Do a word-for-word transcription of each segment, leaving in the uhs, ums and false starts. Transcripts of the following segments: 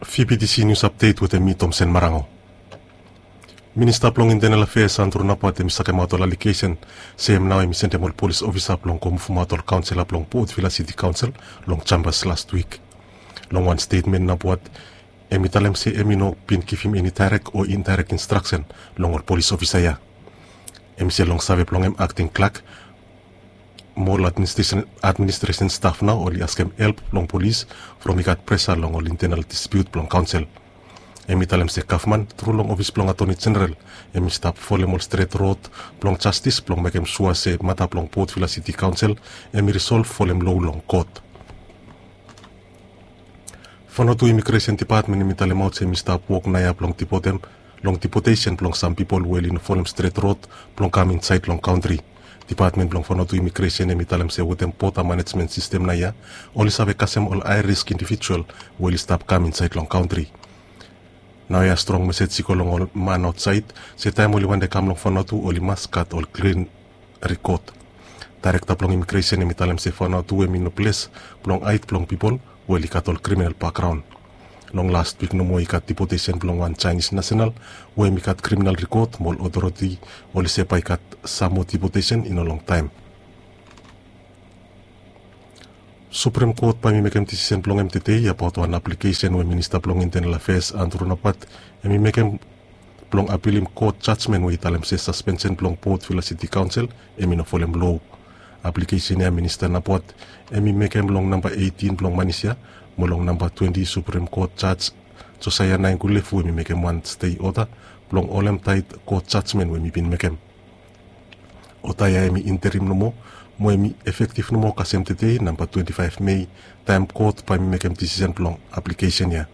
Fibitisi nius apdet wetem mi, Tomsen Marango. Minista blong Intenal Afeas Andru Napat hem i sakemaot ol alegesen se hem nao hem i sendem ol polis ofisa blong go muvumaot ol kaonsela blong Port Vila Siti Kaonsel long Jambas lastwik. Long wan stetmen Napat hem i talem se hem i no bin givim eni daerek o indaerek instraksen long ol polis ofisa ya. Hem i se long save blong hem akting klak mo ol administresen staf nao oli askem help long polis from i gat presa long ol intenal dispiut blong kaonsel. Hem i talem se gavman tru long ofis blong atoni jeneral hem i stap folem ol stret rod blong jastis blong mekem sua se mata blong Port Vila Siti Kaonsel hem i risolv folem lo long kot. Vanuatu Imigresen Depatmen hem i talemaot se hem i stap wok naoia blong dipotem long dipotesen blong sam pipol we oli no folem stret rod blong kam insaed long kantri. Depatmen blong Vanuatu Imigresen hem i talem se wetem bota manejmen sistem naoia oli save kasem ol hae risk indivijual we oli stap kam insaed long kantri. Naoia strong mesej i go long ol man aotsaed se taem oli wantem kam long Vanuatu oli mas gat ol klin rikot. Daerekta blong Imigresen hem i talem se Vanuatu hem i no ples blong haed blong pipol we oli gat ol kriminal bakgraon. Long lastwik nomo i gat dipotesen blong wan Jaenis nasenal we hem i gat kriminal rikot mo ol otoriti oli se bae i gat sam moa dipotesen i no longtaem. Suprem Kot bae hem i mekem disisen blong hem tedei abaot wan aplikesen we minista blong intenal afeas Andru Napat hem i mekem blong apilim kot jajmen we i talem se saspensen blong Port Vila Siti Kaonsel hem i no folem lo. Aplikesen ya minista Napat hem i mekem long namba eitin blong manis ya mo long namba twenti Suprem Kot Jaj Josaia Nainggolefu hem i mekem wan stei oda blong holem taet kot jajmen we hem i bin mekem. Oda ya hem i interim nomo mo hem i efektiv nomo kasem tedei namba twenti faef Mei taem kot bae hem i mekem disisen blong aplikesen ya.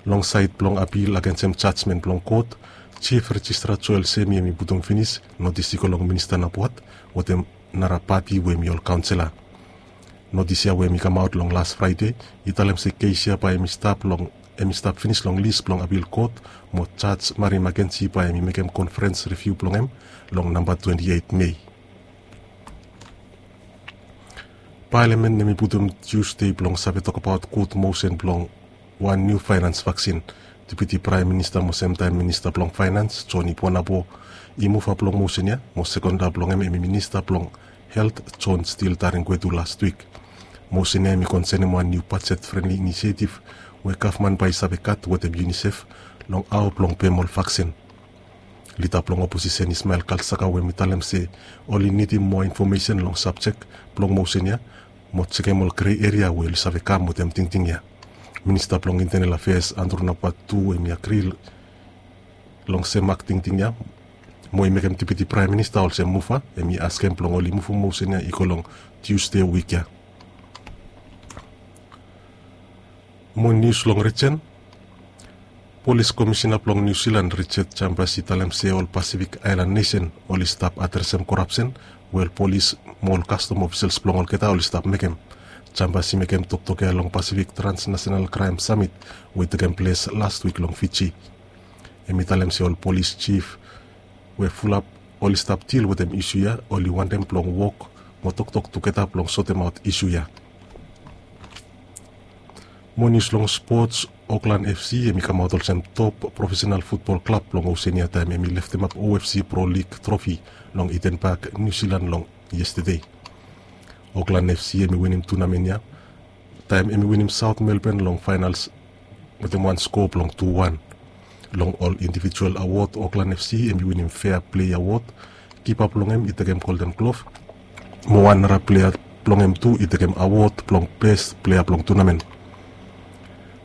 Long saed blong apil agensem jajmen blong kot, Jif Rejistra Joel Semi hem i putum finis notis i go long minista Napat wetem nara pati we hem i ol kaonsela. Notis ya we hem i kamaot long las Fraede i talem se kes ya bae hem i stap long hem i stap finis long lis blong apil kot mo jaj Mari Makenji bae hem i mekem konferens riviu blong hem long namba twenti eit Mei. Palamen hem i putum Tiusde blong save tokbaot gud mosen blong wan niu faenans vaksin. Depiti praem minista mo semtaem minista blong faenans Joni Bonabo i muva blong mosen ya mo sekonda blong hem hem i minista blong helt Jon Stil Taringwetu lastwik. Mosen ya hem i konsenem wan niu bajet frenli inisietiv we gavman bae i save gat wetem Unisef long hao blong pem ol vaksin. Lida blong oposisen Ismael Kalsaka we hem i talem se oli nidim moa infomesen long sabjek blong mosen ya mo jekem ol grei eria we oli save kam wetem tingting ya. Minista blong intenel afeas Andru Napat tu hem i agri long sem mak tingting ya mo i mekem depiti praem minista olsem muva hem i askem blong oli muvum mosen ya i go long Tiusde wik ya. Mo nius long rijen. Polis komisina blong Niu Silan Richard Chambers i talem se ol Pasifik aelan nesen oli stap adresem korapsen we ol polis mo ol kastom ofisels blong olgeta oli stap mekem. Chambers i mekem toktok ya long Pasifik Transnasenal Kraem Samit we i tekem ples lastwik long Fiji. Hem i talem se ol polis jif we fulap oli stap dil wetem isu ya oli wantem blong wok mo toktok tugeta blong sotemaot isu ya. Mo nius long spots. Oklan FC hem i kamaot olsem top profesenal futbol klab blong Osenia taem hem i leftemap OFC Pro Lig trofi long Eden Park, Niu Silan long yestede. Oklan FC hem i winim tunamen ya taem hem i winim Saot Melben long faenals wetem wan skoa blong tu wan. Long ol indivijual awod Oklan FC hem i winim Fea Plea Awod. Kipa blong hem i tekem Golden Glov mo wan nara plea blong hem tu i tekem awod blong bes plea blong tunamen.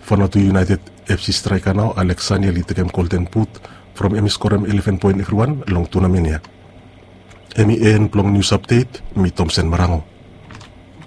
Vanuatu United FC straeka nao Alex Saniel i tekem Golden But from hem i skorem eleven poen evriwan long tunamen ya. Hem i en blong nius apdet. Mi Tomsen Marango.